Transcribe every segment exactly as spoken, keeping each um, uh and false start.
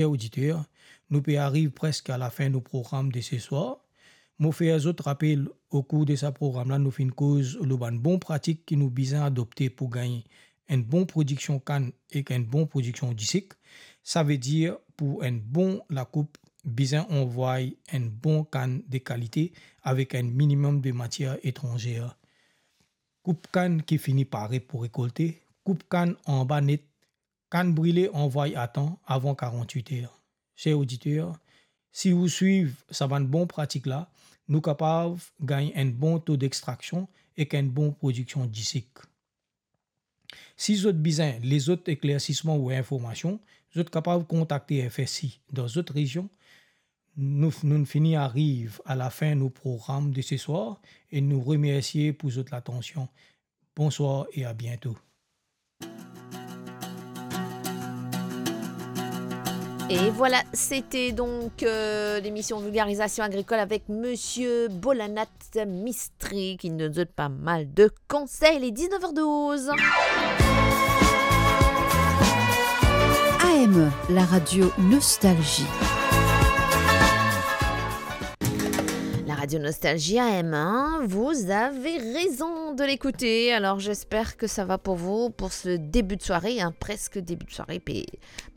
Ser oditer, nou pe ariv preske a lafin nou program de seswar. Mo fer zot rapel, okour de sa program la, nou finn koz lor bann bon pratik ki nou bizin adopte pou gagn enn bon prodiksion kann ek enn bon prodiksion disik. Savedir, pou enn bon lakoup, bizin anvway enn bon kann de kalite avek enn minimem de matier etranzer. Koup kann ki fini pare pou rekolte, koup kann anba net, kann brile anvway atan avan karant-wit er. Ser oditer, si ou swiv sa bann bon pratik la, nou kapav gagn enn bon to dextraksion ek enn bon prodiksion disik. Si zot bizin lezot eklersisman ou informasion, zot kapav kontakte F S I dan zot rezion. Nou, nou fini ariv a lafin nou program de seswar e nou remersie pou zot latansion. Bonswar e a biento. Et voilà, c'était donc, euh, l'émission Vulgarisation agricole avec Monsieur Bolanat Mistri qui nous donne pas mal de conseils. Il est dix-neuf heures douze. A M, la radio Nostalgie. La radio Nostalgie A M un, vous avez raison de l'écouter. Alors, j'espère que ça va pour vous pour ce début de soirée, hein, presque début de soirée. Puis,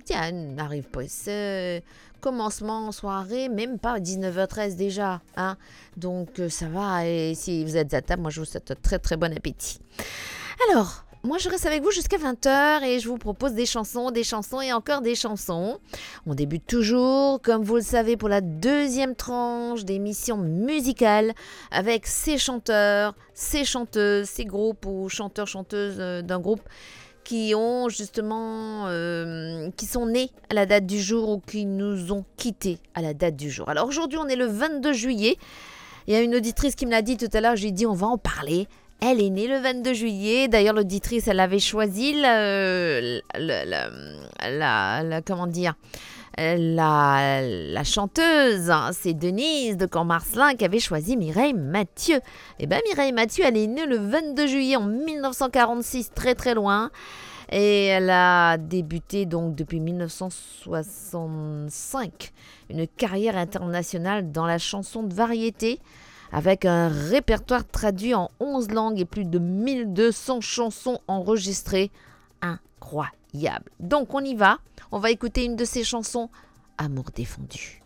tiens, on arrive pas, c'est commencement soirée, même pas dix-neuf heures treize déjà, hein. Donc, euh, ça va, et si vous êtes à table, moi, je vous souhaite un très, très bon appétit. Alors, moi, je reste avec vous jusqu'à vingt heures et je vous propose des chansons, des chansons et encore des chansons. On débute toujours, comme vous le savez, pour la deuxième tranche d'émission musicale avec ces chanteurs, ces chanteuses, ces groupes ou chanteurs, chanteuses, euh, d'un groupe qui ont justement, euh, qui sont nés à la date du jour ou qui nous ont quittés à la date du jour. Alors aujourd'hui, on est le vingt-deux juillet. Il y a une auditrice qui me l'a dit tout à l'heure, je lui ai dit, on va en parler. Elle est née le vingt-deux juillet. D'ailleurs, l'auditrice, elle avait choisi le, le, le, la, la, comment dire, euh, la, la chanteuse, hein, c'est Denise de Camp-Marcelin qui avait choisi Mireille Mathieu. Eh ben, Mireille Mathieu, elle est née le vingt-deux juillet en mille neuf cent quarante-six, très, très loin. Et elle a débuté donc depuis mille neuf cent soixante-cinq une carrière internationale dans la chanson de variété, avec un répertoire traduit en onze langues et plus de mille deux cents chansons enregistrées. Incroyable. Donc, on y va. On va écouter une de ses chansons, Amour défendu.